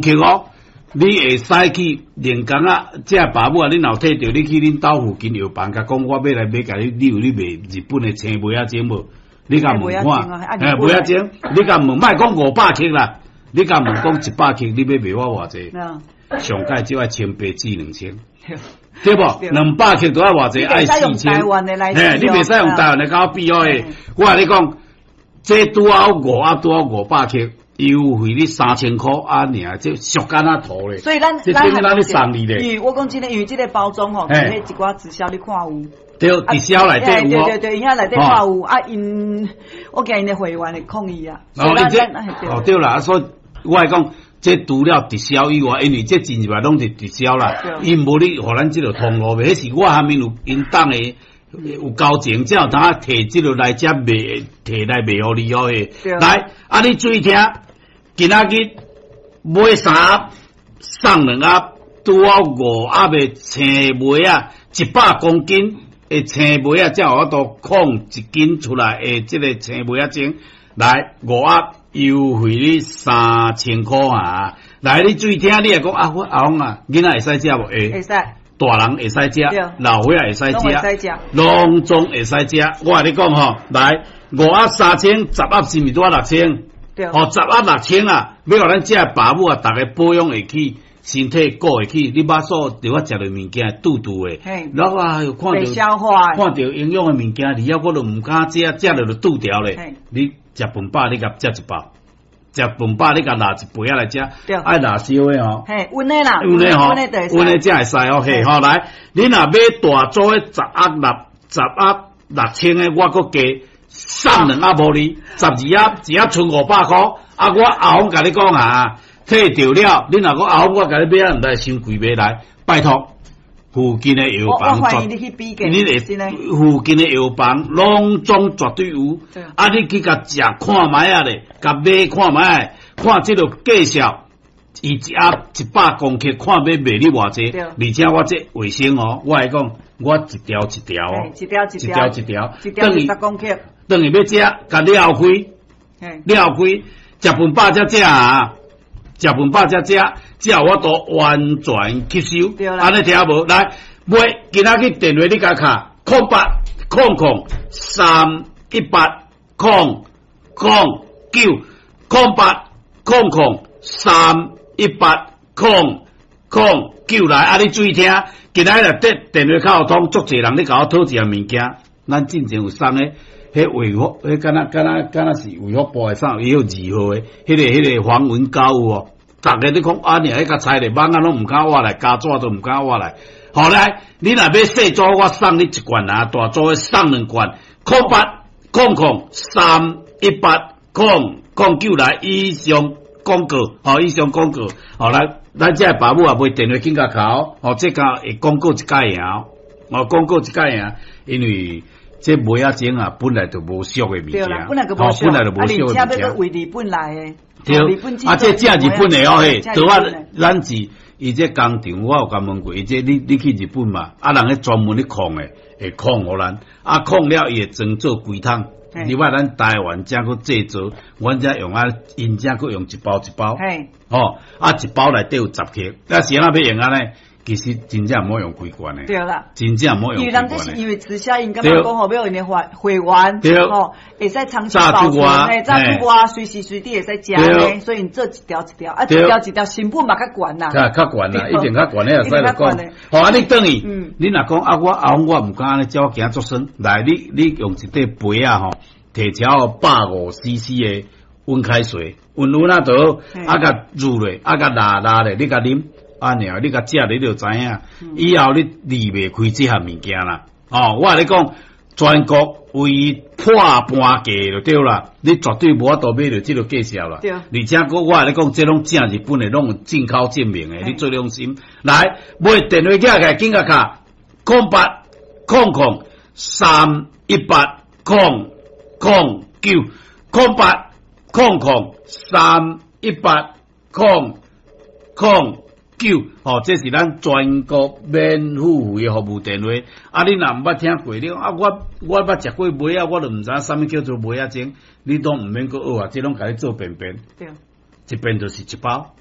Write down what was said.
克哦，你會使去連工啊，這爸母啊，你若有提著，你去恁兜附近藥房，共講我欲來買，共你，你有咧賣日本的青梅仔精無？你共問看，嘿，梅仔精，你共問，莫講500克啦，你共問講100克，你欲賣我偌濟？上蓋就愛1800至2000，對無？200克都愛偌濟？愛4000。嘿，你袂使用台灣來共我比哦。我共你講，這拄好5盒，拄好500克，優惠你3000箍啊爾，這俗敢若塗咧。所以咱這等於咱咧送你咧。因為我講真的，因為這个包裝吼，佇彼一寡直銷你看有。對，直銷內底有。對對對，伊遐內底看有啊，𪜶我驚𪜶的會員會抗議啊。哦，伊這哦對啦，所以我會講，這除了直銷以外，因為這進入來攏是直銷啦，𪜶無咧予咱這个通路賣，彼是我下面有𪜶黨的有交情，才有通提這个來遮賣，提來賣予你哦。來，啊你注意聽，今仔日買三盒送兩盒，拄好五盒的青梅仔，100公斤的青梅仔，才有法度空一斤出來的這个青梅仔精，來五盒優惠你3000箍啊！來，你注意聽，你會講啊，我阿公啊，囡仔會使食無？會。會使。大人會使食，老歲仔會使食，攏總會使食。我共你講吼，來五盒三千，10盒是毋是拄仔6000？哦，十盒六千啊！欲予咱遮爸母啊，逐家保養會起，身體顧會起。你腹肚著愛食著物件肚肚的，然後啊又看著看著營養的物件，你猶我都毋敢食，食著就肚條咧。你食飯飽，你共食一包。食飯飽，你共拿一杯仔來食，愛拿燒的吼，嘿，溫的啦，溫的吼，溫的才會使哦。嘿，吼來，你若買大組的10盒6000的，我閣加送兩盒予你，12盒，一盒賰500箍。啊，我阿峰共你講啊，提著了，你若講阿峰，我共你買啊，毋知傷貴袂來，拜託。附近的藥房，你會附近的藥房攏總絕對有。啊，你去共食看覓仔咧，共買看覓仔，看這个介紹，伊一盒100公克，看欲賣你偌濟。而且我這衛生哦，我會講，我一條一條哦，一條一條，一條一條，20公克。轉去欲食，共撩開，撩開，食飯飽才食啊。食飯飽才食，才有法度完全吸收。按呢聽無？來，買今仔日電話你共敲0800318009，0800318009來。啊，你注意聽，今仔日電電話較有通，足濟人咧共我討一項物件。咱進前有送的，彼衛福，彼敢若敢若敢若是衛福部的啥，伊有二號的，彼个黃文膏有無？逐家咧講啊，爾彼共拆咧，網仔攏毋敢挖來，膠紙都毋敢挖來。好來，你若欲細組，我送你一罐啊；大組的送兩罐。0800318009來，以上廣告，吼，以上廣告。好來，咱遮爸母也袂電話緊共敲，吼，這個會廣告一擺爾，哦，廣告一擺爾，因為這梅仔精啊，本來就無俗的物件，本來就無俗的物件。啊，而且欲為日本來的，對，啊，這正日本的哦，嘿，對啊，咱是伊這工廠，我有共問過，伊這你你去日本嘛？啊，人彼專門咧控的，會控予咱，啊，控了伊會裝做規桶。另外，咱台灣遮閣製造，阮遮用啊，𪜶遮閣用一包一包，吼，啊，一包內底有10克，啊，是按怎欲用按呢？其實真正毋好用規罐的，對啦，真正毋好用規罐的。因為人這是因為直銷，𪜶感覺講吼，欲𪜶的會會員，吼，會使長期保存，嘿，炸出外，隨時隨地會使食呢，所以𪜶做一條一條，啊，一條一條成本嘛較懸啦，較較懸啦，一定較懸，你會使講。好，啊，你轉去，你若講啊，我阿公我毋敢按呢，食我驚足酸。來，你你用一塊杯仔吼，提超150 cc 的溫開水，溫溫啊就好，啊，共煮落，啊，共抐抐咧，你共啉。啊爾，你共食你就知影，以後你離袂開這項物件啦。哦，我共你講，全國唯一破半價就對啦，你絕對無法度買著這个介紹啦。而且閣我共你講，這攏正日本的，攏有進口證明的，你做良心。來，買電話寄來，緊共敲0800318009，0800318009。吼，這是咱全國免付費的服務電話。啊，你若毋捌聽過，你講啊，我我捌食過梅仔，我都毋知影啥物叫做梅仔精，你都毋免閣學啊，這攏共你做便便。對，一遍就是一包。